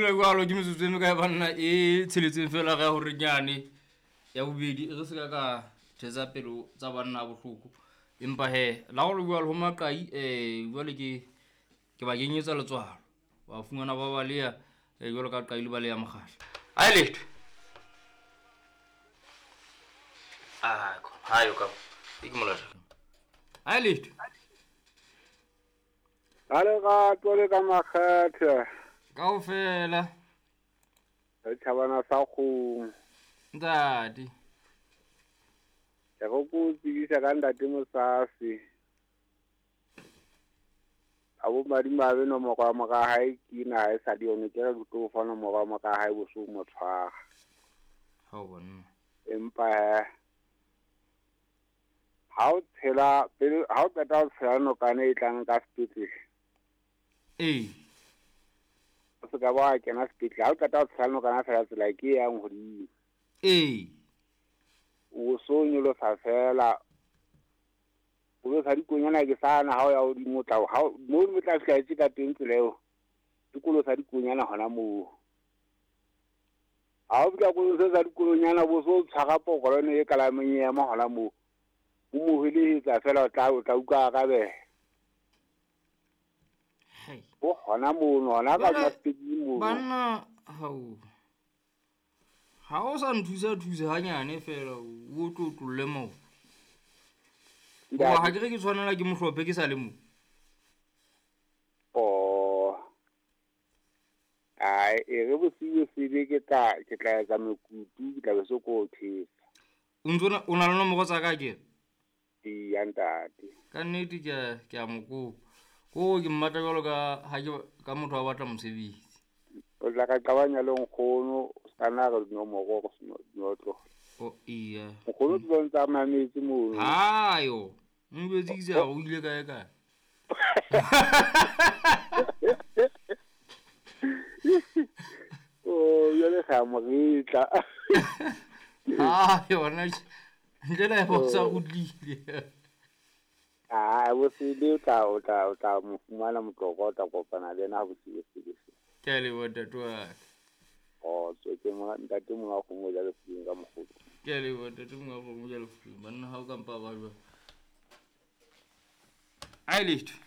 Feela jwalo ke metsotso e mekae banna e tsheletseng fela re ya hore nyane ya bobedi re se ka ka thetsa pelo tsa banna bohloko. Empa he la go le jwalo ho maqai jwale ke ba kenyetsa letswalo. Wa fumana ba baleya jwalo ka qai le baleya mokgahla. Ai letho. Ah, ha yo ka. E ke molata. Ai letho. Ka lerato le ka makgethe. Kaofela. Re tjhabana sa kgomo. Ntate. Ke re ko tsebisa ka ntate Mosase. A bo madimabe nomoro ya mora hae ke ena ha e sa le yone, ke re ke tlo fa nomoro ya mora hae bosiu mo tshwara. Ha o bona. Empa he ha o tshela pele, ha o qeta ho tshela nokana e tlang ka sepetlele. Ee. O se ka ba wa kena sepetlele. Ha o qeta ho tshela nokana fela tsela ke e yang hodimo. Ee. O so nyolosa fela. O lo sa dikonyana ke sana ha o ya hodimo o tla ha mo o tla fihla etse ka teng tsela eo. Dikolo sa dikonyana hona moo. Ha o fihla kolong se sa dikolonyana bo so tshwara pokolone e kalameng e ema hona moo. O mo helehetsa fela o tla utlwa arabeha. Hai. O hona mono, hona ka sepetlele mono. Banna hao. Ha o sa nthusa thusa hanyane fela o tlotlolle moo. Ngoba ha ke re ke tshwanela ke mohlophe ke sa le mo. Oh. Ai, e re bosiu sebe ke tla etsa mekutu, ke tla be se ko thesa. O ntso o na le nomoro tsa ka ke? Eya ntate. Ka nnete ke a mo kopa. Ko ke mmatla jwalo ka ha ke ka motho a batla mosebetsi. O tla ka qabanya le nkgono, o ska nna re dinomoro go seno dinotlo. O iya. Nkgono ke ntse a mametse mono. Hayo. Njwetse ke sa o ile kae kae. Oh, jwale ga moritla. Ah, yona ntle le go sa kgutlile. Ah, bosiu o tla mo fumana motloko, o tla kopana le yena bosiu sebe. Ke a leboha ntate wa ka. Oh, so ke mo ntate mo a kgomo ja lefung ka mokgotsi. Ke a leboha ntate mo a kgomo ja lefung. Banna ha o ka mpa ba jwang. Ai letho.